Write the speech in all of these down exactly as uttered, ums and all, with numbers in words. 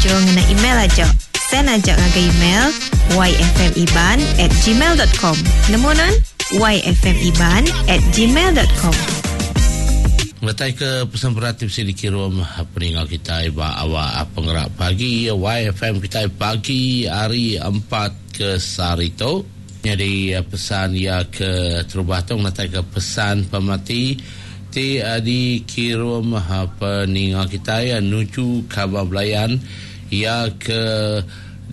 nganjung ngena email aja. Send aja ngagai email yfmiban at gmail dot com. Nemu non? yfmiban at gmail dot com. Ngetai ke pesan berat mesti dikirim peninggal kita ba awak penggerak pagi Y F M kita pagi hari empat ke sehari tu. Jadi pesan ia ke terubah tu ngetai ke pesan pemati ti dikirim peninggal kita ya nuju kabar belayan ia ke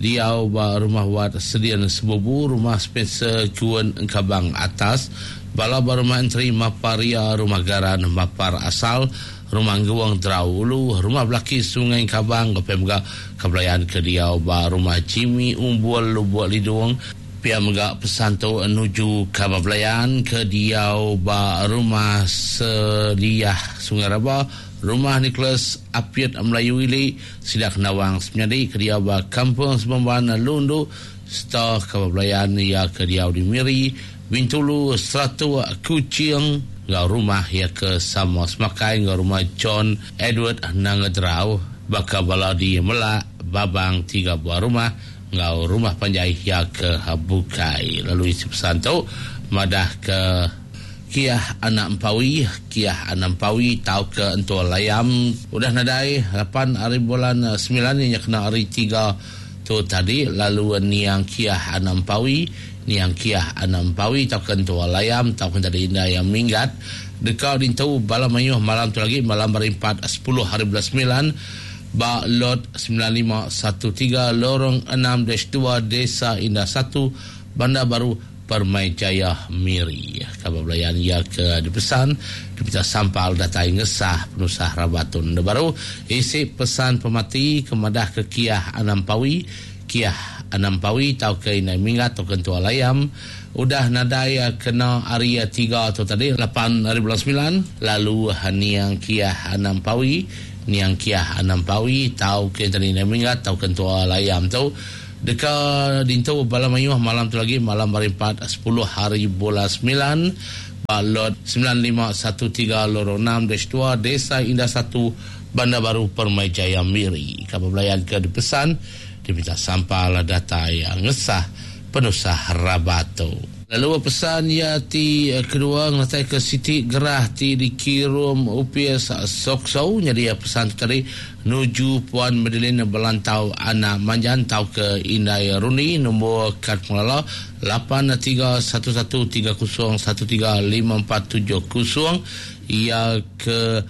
diau ba rumah wat sedian sebubu rumah Spencer Juan Engkabang atas bala ba rumah enteri Maparia rumah Garan Mapar asal rumah Ngguang Drau Ulu rumah Belaki Sungai Engkabang ke mega kebelayan ke diau ba rumah Jimmy Umbul Lubuk Lidung. Pia mega pesan tu nuju kabar belayan ke diau ba rumah Seliah Sungai Raba rumah Nicholas Apiat Melayu Ili Sidak Nawang semenyadi ke diau ba Kampung Sebemban Lundu serta kabar belayan ia ke diau di Miri Bintulu Seratu Kuching ngau rumah ia ke sama semakai ngau rumah John Edward Nangadrau bakal bala di Melak Babang tiga buah rumah ngau rumah panjai ia ke Bukai. Lalu isi pesan tu madah ke Kiah anak Empawi, Kiah anak Empawi tau ke entua layam udah nadai lapan hari bulan sembilan yang kena hari tiga tu tadi. Lalu niang Kiah anak Empawi, niang Kiah anak Empawi tau ke entua layam tau ke tadi indah yang minggat dekau dintu bala mayuh malam tu lagi malam hari empat sepuluh hari bulan sembilan ba lot sembilan lima satu tiga lorong enam dash dua Desa Indah satu Bandar Baru Permai Jaya Miri. Kabar belayan ia ke dipesan dipita sampal datai ngesah penusah rabatun baru isi pesan pemati kemadah ke Kiah Anampawi, Kiah Anampawi tau ke inai minggat tau ke entua layam udah nadai kena hari tiga tu tadi lapan hari bulan sembilan. Lalu niang Kiah Anampawi, niang Kiah Anampawi tau ke tadi inai minggat tau ke entua layam tu deka dintu bala mayuh malam tu lagi malam hari empat sepuluh hari bulan sembilan ba lot sembilan lima satu tiga lorong enam dash dua Desa Indah satu Bandar Baru Permai Jaya Miri. Kabar belayan ke dipesan diminta sampal data yang ngesah penusah rabato. Lalu pesan ya ti kedua ngatai ke Siti Gerah ti dikirim U P S Sokso. Jadi ya pesan tu tadi nuju Puan Madeline Belantau anak Manjan tau ke Indai Runi nombor kad pengelola lapan tiga satu satu tiga kosong satu tiga lima empat tujuh kosong ia ke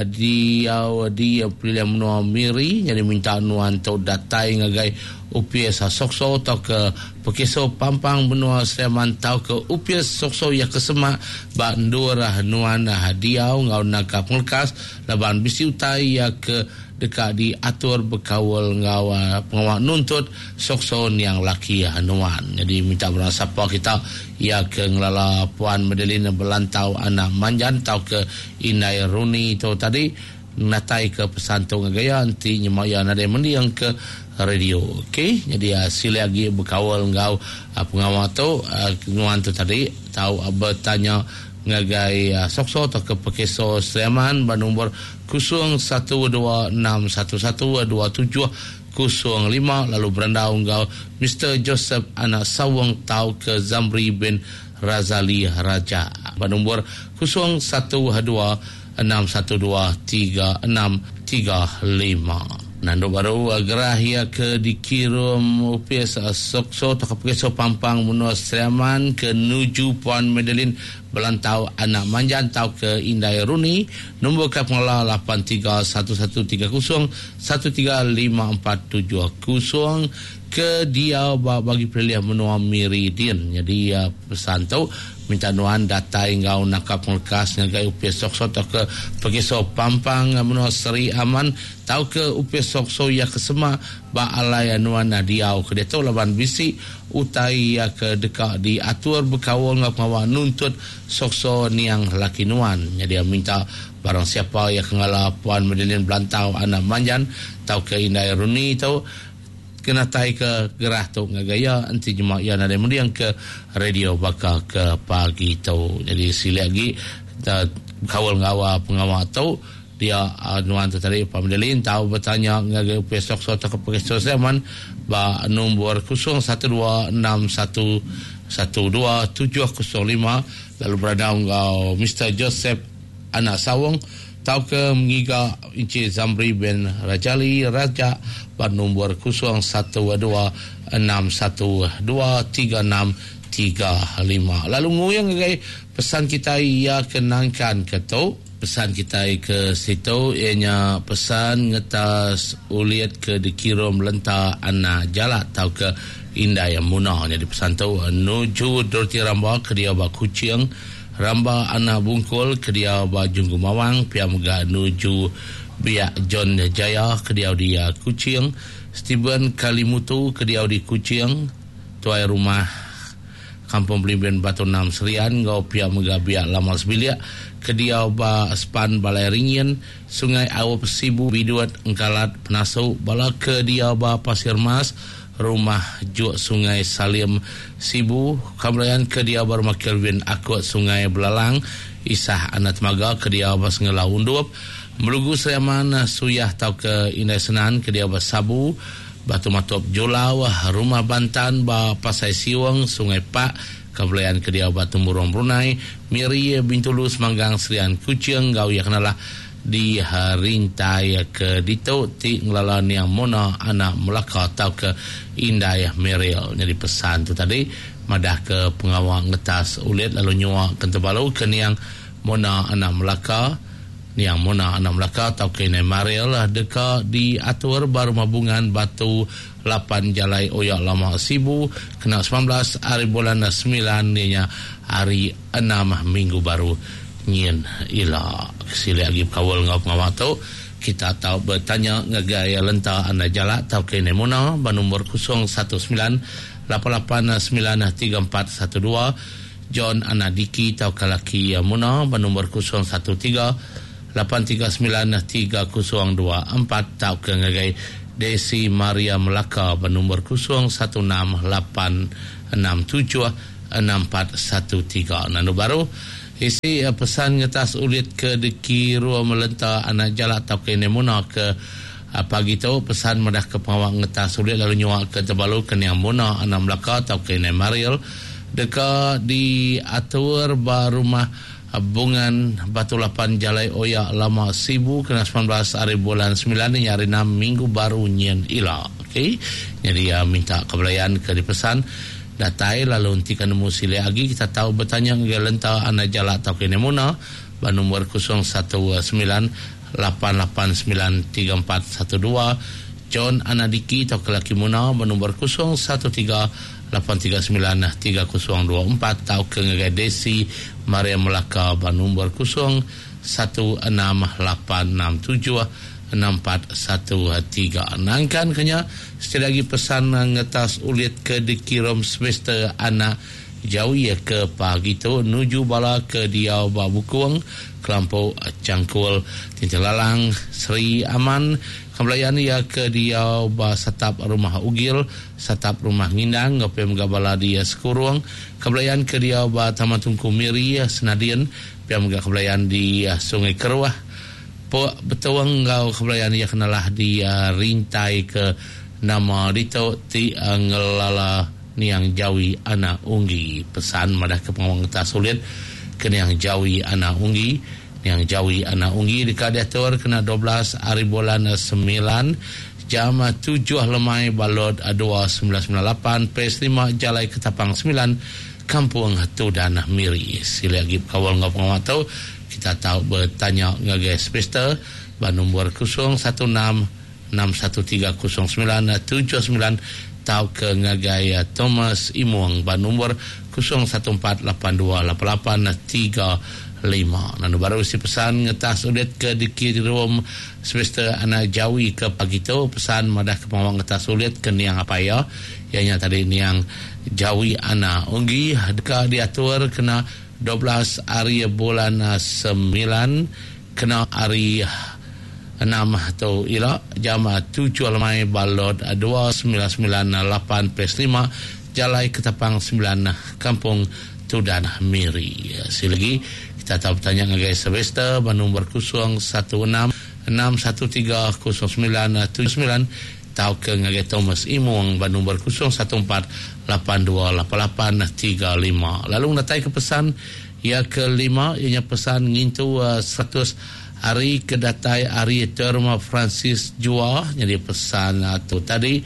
dia di pilihan menua Miri. Jadi minta nuan tau datai ngagai U P S Sokso atau ke Pekeso Pampang benua Sleman tau ke U P S Sokso ya ke semak ba ndurah nuan hadiau ngau nangka penglekas laban bisi utai ya ke dekat diatur berkawal ngau pengawal nuntut Sokso yang laki nuan. Jadi minta berang siapa kita ya ke ngelala Puan Madeline Belantau anak Manjan tau ke Inai Runi tu tadi natai ke pesan tu ngagaya anti nyemaya nadai mendiang ke radio. Okey, jadi uh, sila lagi berkawal ngau uh, pengawal tu uh, nuan tu tadi tau uh, bertanya ngagai uh, Sokso atau ke Pekeso Sleman bernombor kosong satu dua enam satu satu dua tujuh kosong lima lalu berandau ngau Mister Joseph anak Sawang tau ke Zamri bin Razali Raja bernombor kosong satu dua enam satu dua tiga enam tiga lima. Nandu baru gerah ia ke dikirim U P S Sokso atau ke Pekeso Pampang menua Sleman ke nuju Puan Madeline Belantau anak Manjan tau ke Indai Runi nombor kad pengelola lapan tiga satu satu tiga kosong satu tiga lima empat tujuh kosong ke dia bagi pilihan menua Meridian. Jadi uh, pesan tu minta nuan datai ngau nakap penglekas ngagai U P S Sokso atau ke Pekeso Pampang menua Seri Aman tau ke U P S Sokso ya ke semak ba alai nuan diau ke dia tu laban bisi utai ya ke dekat diatur berkawal ngau pengawal nuntut Sokso niang laki nuan. Jadi dia minta barang siapa yang kengala Puan Madeline Belantau anak Manjan tau ke Indai Runi tu kena tai ke gerah tu ngagaya anti jemaah ya nadai mendiang ke radio bakal ke pagi tu. Jadi sila lagi kawal ngawa pengawal tu Dia uh, nuan tu tadi Pak Medellin tahu bertanya ngagai besok so atau ke Zaman ba nombor kosong satu dua enam satu satu dua tujuh kosong lima lalu berada ngau Mister Joseph Anak Sawung tau ke mengiga Encik Zamri bin Rajali Raja ba nombor kosong satu dua enam satu dua tiga enam tiga lima. Lalu nguyang ngagai pesan kita ia kenangkan ke tu pesan kita ke situ ianya pesan ngetas uliat ke dikirim lenta anak jalak atau ke indai yang munah. Jadi pesan tu nuju Dorothy Ramba ke dia ba Kuching, Ramba anak Bungkul ke dia ba Junggu Mawang, pia mega nuju Biak John Jaya ke dia di Kuching, Steven Kalimutu ke dia di Kuching, tuai rumah Kampung Belimbin Batu Enam Serian, ngau pia mega biak Lama Sebiliak ke dia ba Span Balai Ringin, Sungai Awap Sibu Biduat Engkalat Penasu, bala ke dia ba Pasir Mas, Rumah Juk Sungai Salim Sibu, Kamlayan ke dia ba Rumah Kelvin Akut Sungai Belalang, Isah Anak Temaga ke dia ba Sengelau Undup, Melugu Seriaman Suyah tau ke Indai Senan ke dia ba Sabu, Batu Matop Julau, Rumah Bantan ba Pasai Siwang, Sungai Pak, Kebelayan ke dia Batu Murung Brunei, Miri Bintulu Semanggang Serian Kuching, gau ya kenalah di rintai ke dito ti ngelala niang Mona anak Melaka atau ke Indai Meril. Jadi pesan tu tadi madah ke pengawal ngetas ulit lalu nyua kentebalu ke niang Mona anak Melaka, niang Mona anak Melaka atau ke Indai Meril deka diatur baru mabungan Batu lapan Jalai Oyak Lama Sibu kena sembilan belas hari bulan sembilan ninya hari enam minggu baru nyin ila. Sila lagi kawal ngau pengawal tu kita tahu bertanya ngagai lenta anda jalak tau ke Nemona ba nombor kosong satu sembilan lapan lapan sembilan tiga empat satu dua, John Anadiki tau kalaki Mona ba nombor kosong satu tiga lapan tiga sembilan tiga kosong dua empat tau ke ngagai Desi Maria Melaka ba nombor kosong satu enam lapan enam tujuh enam empat satu tiga. Nanu baru isi pesan ngetas ulit ke dikiru melenta anak jalak atau ke Nemona ke pagi tu pesan madah ke pengawal ngetas ulit lalu nyuak ke Tebalu ke Niang Mona anak Melaka atau ke Mariel deka diatur ba rumah Bungan Batu Lapan Jalai Oyak Lama Sibu kena sembilan belas hari bulan sembilan ni hari enam minggu baru nyen ila. Okey. Jadi uh, minta kebelayan ke dipesan datai lalu nanti kan nemu sile lagi kita tahu bertanya ke lenta anak jalak atau ke Nemona ba nombor kosong satu sembilan lapan lapan sembilan tiga empat satu dua, John Anadiki atau ke laki Mona ba nombor kosong satu tiga lapan tiga sembilan tiga kosong dua empat atau ke ngagai Desi Maria Melaka ba nombor kosong satu enam lapan enam tujuh enam empat satu tiga. Nangkan kenya sekali lagi pesan ngetas ulit ke dikirim semester anak jauh ya ke pagi tu nuju bala ke diau ba Bukung Kelampau Cangkul Tintin Lalang Seri Aman Kembelayan ya ke diau ba Satap Rumah Ugil Satap Rumah Ngindang ngopem gabala dia Sekurung Kembelayan ke diau ba Taman Tungku Miri Senadian piam ga kembelayan di Sungai Keruah Pok betuang ngau kebelayan ia kenalah di uh, rintai ke nama dito ti uh, ngelala niang Jawi anak Unggi. Pesan madah ke pengawang ngetas sulit ke niang Jawi anak Unggi. Niang Jawi anak Unggi dekat diatur kena dua belas hari bulan sembilan jam tujuh lemai balot dua sembilan sembilan lapan P S lima Jalai Ketapang sembilan Kampung Tudan Miri. Sila lagi kawal ngau pengawang tu kita tahu bertanya ngagai semester ba nombor kosong satu enam enam satu tiga kosong sembilan tujuh sembilan tau ke ngagai Thomas Imuang ba nombor kosong satu empat lapan dua lapan lapan tiga lima. Nanu baru si pesan ngetas ulit ke dikirim semester anak Jawi ke pagi tu pesan madah ke pengawang ngetas ulit ke niang apa ya ianya tadi niang Jawi anak Unggi deka diatur kena dua belas hari bulan sembilan kena hari enam atau ila jam tujuh lemai balot dua sembilan sembilan lapan P S lima Jalai Ketapang sembilan Kampung Tudan Miri. Sekali lagi kita tahu bertanya ngagai Sylvester ba nombor kosong satu enam enam satu tiga kosong sembilan tujuh sembilan tau ke ngagai Thomas Imung ba nombor kosong satu empat lapan dua lapan lapan tiga lima. Lalu natai ke pesan ia kelima ianya pesan ngintu uh, seratus hari kedatai hari Terma Francis Jua. Jadi pesan uh, tu tadi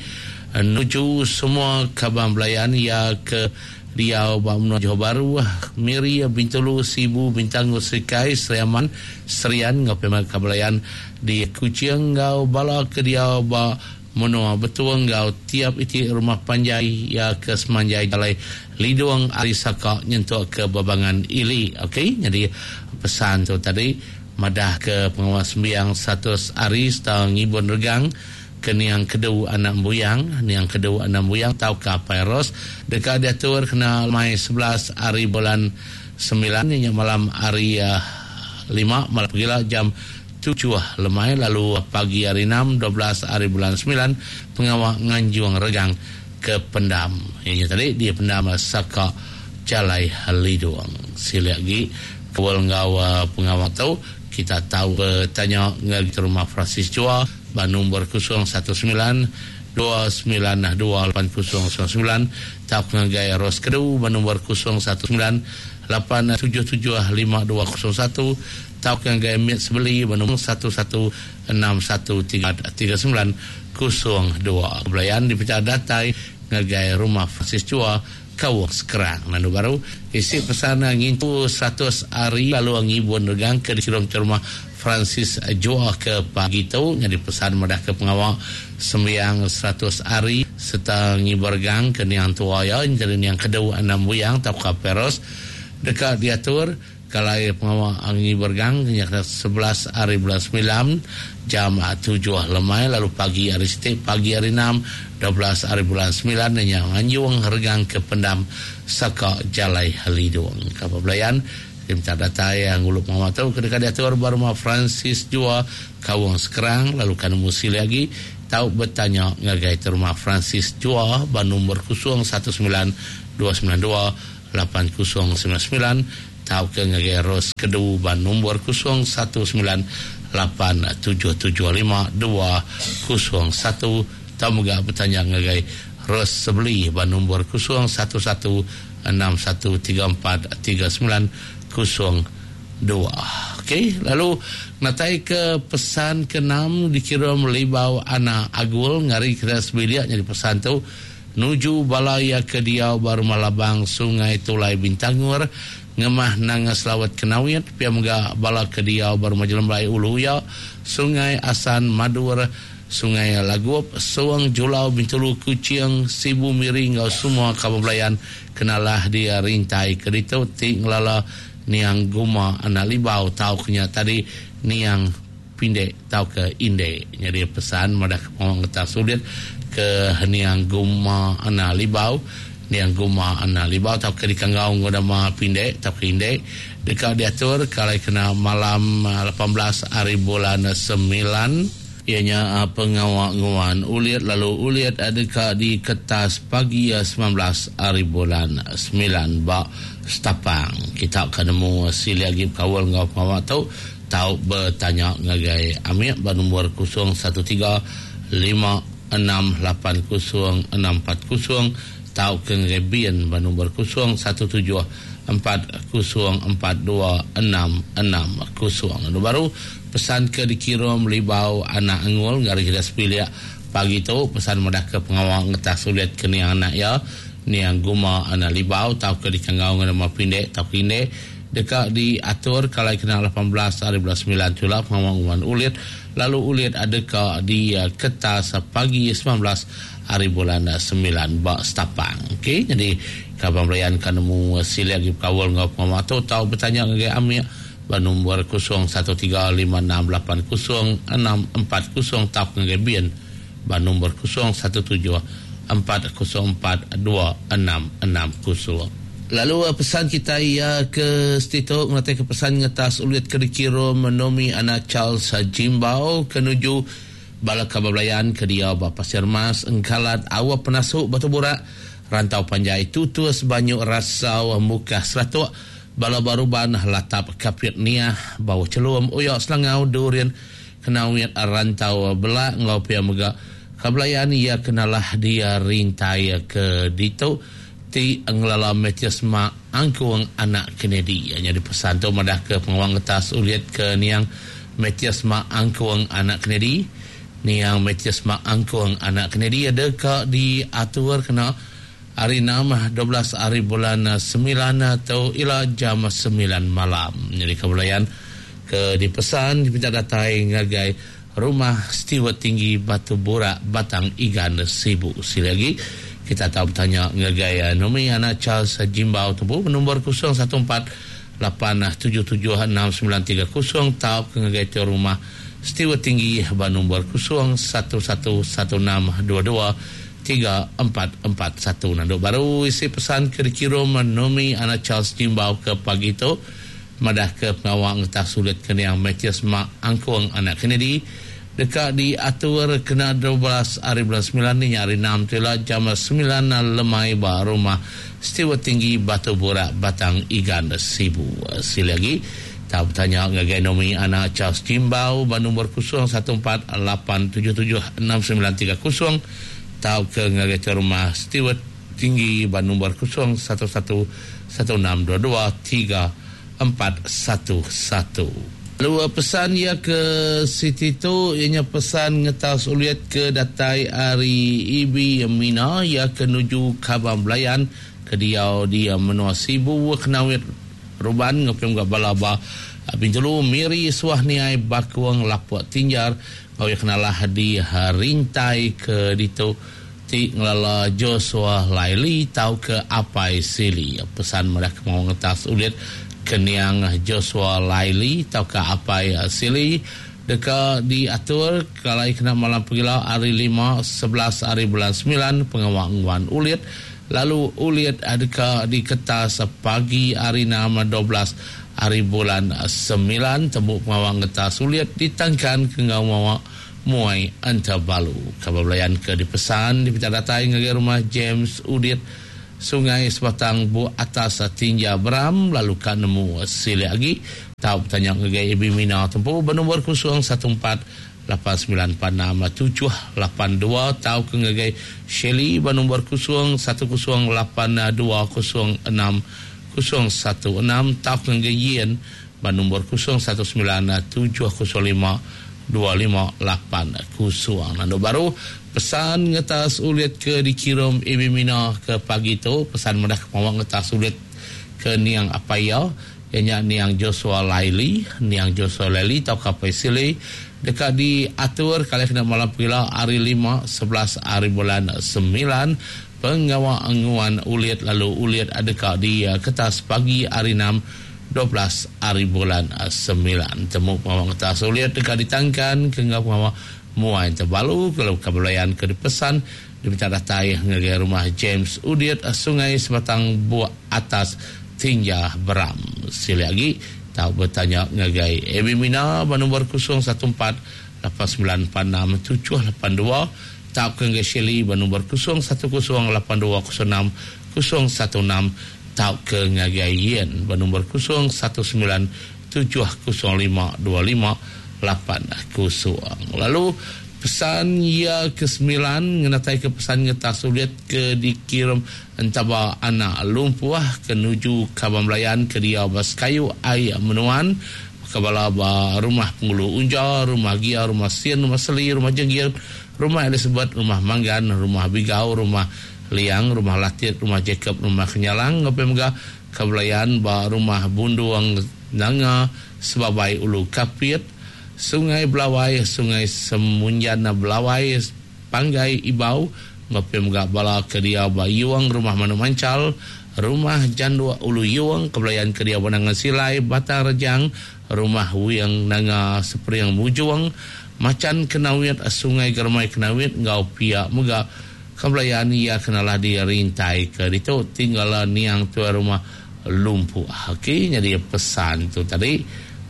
uh, nuju semua kaban belayan ia ke Riau, Bamnu, Johor Bahru, Miri, Bintulu, Sibu, Bintangor, Serikai, Seriaman, Serian, ngau pema kabelayan di Kuching, ngau bala ke dia ba menua betuang ngau tiap iti rumah panjai ya ke semanjai jalai Lidung Ari Saka nyentuk ke Babangan Ili. Okey, jadi pesan tu tadi madah ke pengawas sembiang seratus hari setang ngibun regang ke niang kedu anak buyang, niang kedu anak buyang tau ke Pairos dekat diatur kena mai sebelas hari bulan sembilan ni malam hari uh, lima malam pagi jam tujuh lemai, lalu pagi hari enam dua belas hari bulan sembilan pengawak nganjuang regang ke pendam. Ini tadi dia pendam Saka Jalai Liduang. Sila lagi kawal ngau pengawak tu kita tahu bertanya ngagi rumah Francis Chua ba nombor kosong satu sembilan dua sembilan dua lapan kosong sembilan sembilan tau ngagai Ros Kedu ba nombor kosong satu sembilan lapan tujuh tujuh lima dua kosong satu tau ngagai Mit Sebeli ba nombor satu satu enam satu tiga tiga sembilan kosong dua. Belayan dipecah datai ngagai rumah Francis Chua Kawang Sekerang. Lalu baru isi pesan ngintu seratus hari lalu ngibun regang ke dikirim ke rumah Francis Joa ke pagi tu. Jadi pesan madah ke pengawal sembiang seratus hari serta ngibur regang ke niang tua ya jadi niang kedua enam buyang tau ke peros dekat diatur kalau pengawal ngibur gang sebelas hari bulan sembilan jam tujuh lemai, lalu pagi hari setiap pagi hari enam dua belas hari bulan sembilan yang anjung regang ke pendam Saka Jalai Halidung. Kapal belayan minta data yang ngulup pengawal tu kedekat diatur baru Francis Jua Kawang Sekerang, lalu kan musi lagi tahu bertanya ngagai rumah Francis Jua ba nombor kosong satu sembilan dua sembilan dua lapan kosong sembilan sembilan tahu ke ngagai Ros Kedu ba nombor kosong satu sembilan lapan tujuh tujuh lima dua kosong satu tahu juga bertanya ngagai Ros Sebeli ba nombor kosong satu satu enam satu tiga empat tiga sembilan kosong dua. Okey, lalu natai ke pesan keenam dikirim Libau Anak Agul ngari kita sebiliak jadi pesan tu nuju balaya ke diau baru Malabang Sungai Tulai Bintangur ngemah nanga selawat kenawit pia mega bala ke diau baru Majelembai Ulu Ya Sungai Asan Madur Sungai Lagup Suang Julau Bintulu Kuching Sibu Miri ngau semua kampung belayan kenalah dia rintai kerito ti ngelala niang guma anak libau tau kenya tadi niang pindek tau ke inde. Jadi pesan madah pengawang getah sulit ke niang guma anak libau niang guma anak libau tau ke dikanggau ngodama pindek tau ke inde dekat diatur kalau kena malam lapan belas hari bulan sembilan ianya pengawak nguan uliat lalu uliat adakah di kertas pagi sembilan belas hari bulan sembilan bak Setapang. Kita akan nemu sili lagi kawal ngau pengawak tu tau bertanya ngagai Amir ba nombor kosong satu tiga lima enam lapan kosong enam empat kosong tau ke ngagai Bian ba nombor kosong satu tujuh empat kosong empat dua enam enam kosong. Lalu baru pesan ke dikirim Libau Anak Angul ngari kita sepiliak pagi tu pesan madah ke pengawal ngetah sulit ke niang anak ya niang guma anak Libau tau ke dikanggau dengan nama pindek tau ke inde dekat diatur kalau kena lapan belas hari bulan sembilan tu lah pengawal uman ulit lalu ulit ada ke di uh, kertas pagi sembilan belas hari bulan sembilan bak Setapang. Okey, jadi kaban belayan kan nemu sila lagi kawal ngau pengawal tu tau bertanya dengan Amir ba nombor kosong satu tiga lima enam lapan kosong enam empat kosong tau dengan Bian ba nombor kosong satu tujuh empat kosong empat dua enam enam kosong. Lalu pesan kita ya ke Stito mengatai ke pesan ngetas ulit ke dikira menomi anak Charles Jimbau kenuju bala kabablayan ke dia ba Pasir Mas Engkalat Awak Penasuk Batu Burak Rantau Panjai Tutus Banyu Rasau Mukah Seratuk Bala Baruban Latap Kapit Niah Bawah Celum Uyak Selangau Durin Kenawit Rantau Belak ngau pia mega kabelayan ia kenalah dia rintai ke ditu ti ngelala Mathias Mak Angkung anak Kennedy. Nya dipesan tu madah ke pengawang ngetas ulit ke niang Mathias Mak Angkung anak Kennedy. Niang Mathias Mak Angkung anak Kennedy ada ka diatur kena hari enam dua belas hari bulan sembilan atau ila jam sembilan malam. Jadi kabelayan ke dipesan diminta datai ngagai rumah Stewart Tinggi Batu Burak Batang Igan Sibu. Sekali lagi kita tahu bertanya ngagai Nomi anak Charles Jimbau tembu nombor kosong satu empat lapan tujuh tujuh enam sembilan tiga kosong tau ke ngagai tu rumah Stewart Tinggi ba nombor kosong satu satu satu enam dua dua tiga empat empat satu. Nanduk baru isi pesan ke dikirim Nomi anak Charles Jimbau ke pagi tu madah ke pengawang ngetah sulit ke niang Mathias Mak Angkung anak Kennedy dekat diatur kena dua belas hari bulan sembilan ni hari enam tu lah jam sembilan lemai ba rumah Stewart Tinggi Batu Burak Batang Igan Sibu. Sekali lagi tak bertanya ngagai Nomi anak Charles Jimbau ba nombor kosong satu empat lapan tujuh tujuh enam sembilan tiga kosong tau ke ngagai rumah Stewart Tinggi ba nombor kosong satu satu satu enam dua dua tiga empat satu satu. Lalu pesan ia ke Siti tu ianya pesan ngetas uliat ke datai ari Ibi Mina ia ke nuju Kabang Belayan ke diau dia menua Sibu Kenawit Ruban ngepem ga balaba Bintulu Miri Suah Niai Bakuang Lapuk Tinjar ngau kenalah di rintai ke ditu ti ngelala Joshua Laili tau ke Apai Sili. Pesan mereka mau ngetas uliat keniang Joshua Laili tau ke Apai Sili deka diatur kalai kena malam pegila hari lima sebelas hari bulan sembilan pengawang nguan ulit lalu ulit deka diketas pagi hari enam dua belas hari bulan sembilan temu pengawang ngetas ulit ditangkan ke ngau mawa muai antabalu. Kabar belayan ke dipesan diminta datai ngagai rumah James Udit Sungai Sebatang Bu Atas Tinja Beram lalu ka nemu sili lagi tau bertanya ngagai Ibi Mina tempu bernombor kosong satu empat lapan sembilan empat enam tujuh lapan dua tau ke ngagai Shelly bernombor kosong satu kosong lapan dua kosong enam kosong satu enam tau ke ngagai Yen bernombor kosong satu sembilan tujuh kosong lima dua lima lapan kosong. Nando baru pesan ngetas ulit ke dikirim Ibi Mina ke pagi tu pesan madah kemawang ngetas ulit ke niang apaya ianya niang Joshua Laili niang Joshua Laili tau kapai sili dekat diatur kali kena malam pila hari lima sebelas hari bulan sembilan pengawang anguan ulit lalu ulit adekak di kertas pagi hari enam dua belas hari bulan sembilan temu pengawang kertas ulit dekat ditangkan ke ngau pengawang muai terbalu kalau kabelayan ke dipesan diminta datai ngagai rumah James Udiat Sungai Sebatang Buak Atas Tinja Beram. Sili lagi tahu bertanya ngagai Ebi Mina bernombor kosong satu empat lapan sembilan empat enam tujuh lapan dua tahu ke ngagai Shelly bernombor kosong satu kosong lapan dua kosong enam kosong satu enam tahu ke ngagai Yen bernombor kosong satu sembilan tujuh kosong lima dua lima lapan kosong. Lalu pesan ia ke sembilan ngenatai ke pesan ngetas ulit ke dikirim entaba anak lumpuah ke nuju Kabang Belayan ke dia bas kayu air menuan kebala ba rumah Pengulu Unja, rumah Gia, rumah Sien, rumah Seli, rumah Jenggir, rumah Elizabeth, rumah Manggan, rumah Bigau, rumah Liang, rumah Latit, rumah Jacob, rumah Kenyalang, ngapai mega Kabelayan ba rumah Bunduang Nanga, Sebabai Ulu Kapit, Sungai Belawai, Sungai Semunjana Belawai, Panggai Ibau, ngapai mega bala kedia ba Yuang, rumah Manu Mancal, rumah Jandua Ulu Yuang, Kebelayan kedia Banangan Silai, Batang Rejang, rumah Wiang Nanga Seperiang Mujuang, Macan Kenawit, Sungai Germai Kenawit, ngau pia mega Kebelayan ia kenalah di rintai ke ditu tinggal niang tua rumah lumpuh. Okey, jadi pesan tu tadi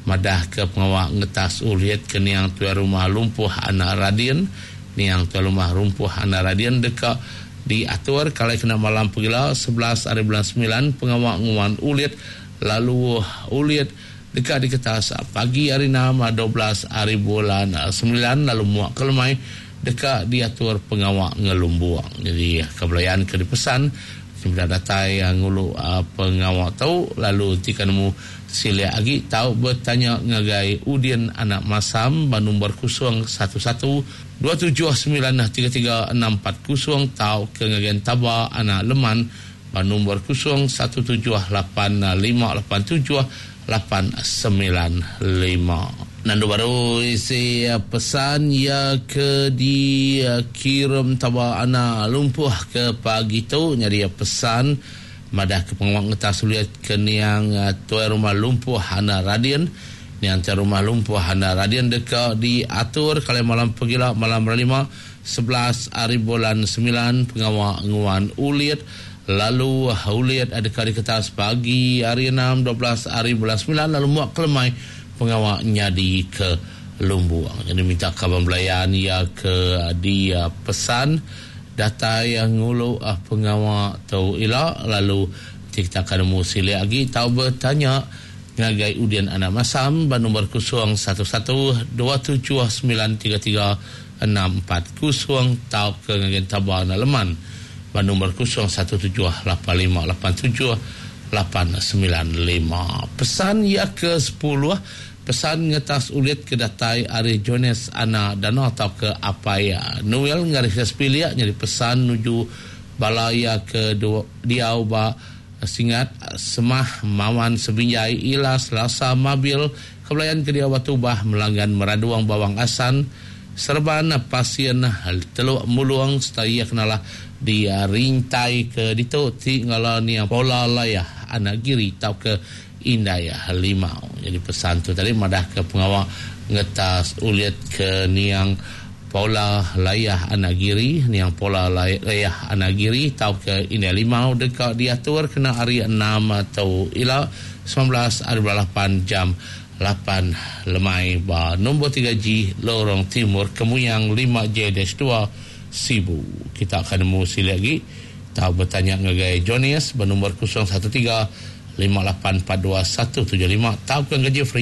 madah ke pengawak ngetas uliat ke niang tua rumah lumpuh anak Radin, Niang tuan rumah Rumpuh Anak Radian dekat diatur kalau kena malam pegila sebelas hari bulan sembilan pengawak nguan ulit lalu ulit dekat di kertas pagi hari enam dua belas hari bulan sembilan lalu muak kelemai dekat diatur pengawak ngelumbuang. Jadi kebelayan ke dipesan sudah datai ngulu pengawak tau lalu tika nemu silia lagi tau bertanya ngagai Udin Anak Masam ba nombor kosong satu satu dua tujuh sembilan tiga tiga enam empat kosong tau ke ngagai Taba Anak Leman ba nombor kosong satu tujuh lapan lima lapan tujuh lapan sembilan lima. Nandu baru isi pesan ya ke dikirim Taba Anak Lumpuh ke pagi tu nyari pesan madah ke pengawak ngetas suliat ke niang tuai rumah Lumpuh Anak Radian. Niang tuai rumah Lumpuh Anak Radian dekat diatur kalau malam pegila malam lima sebelas hari bulan sembilan pengawak nguan ulit lalu ulit ada kali kertas pagi hari enam dua belas hari bulan sembilan lalu muak kelemai pengawak nyadi ke Lumbuang. Jadi minta kawan belayan ya ke dia pesan data yang ngulu pengawak tau ila lalu kita akan nemu silia lagi tau bertanya ngagai Udin Anak Masam ba nombor kosong satu satu dua tujuh sembilan tiga tiga enam empat kosong tau ke ngagai Taba Anak Leman ba nombor kosong satu tujuh lapan lima lapan tujuh lapan sembilan lima. Pesan ya ke sepuluh pesan ngetas ulit ke datai ari Jones Anak Dana atau ke Apai Noel ngaris sepilia jadi pesan nuju balaya ke diau ba Singat Semah Mawan Sebinjai Ila Selasa Mabil kebelayan ke diau Batu Bah Melanggan Meraduang Bawang Asan Serban Pasien Teluk Muluang serta ia kenalah di rintai ke ditu ti ngala ni pola layah Anak Giri tau ke Indaya Limau. Jadi pesan tu tadi madah ke pengawak ngetas ulit ke niang Paula Layah Anak Giri, niang Paula Layah Anak Giri tau ke Indaya Limau dekat diatur kena hari enam atau ila sembilan belas hari lapan jam lapan lemai ba nombor tiga G Lorong Timur Kemuyang lima J dua Sibu. Kita akan nemu sila lagi. Tahu bertanya ngagai Jonius bernombor kosong satu tiga lima lapan empat dua satu tujuh lima. Tahu ke gaji free.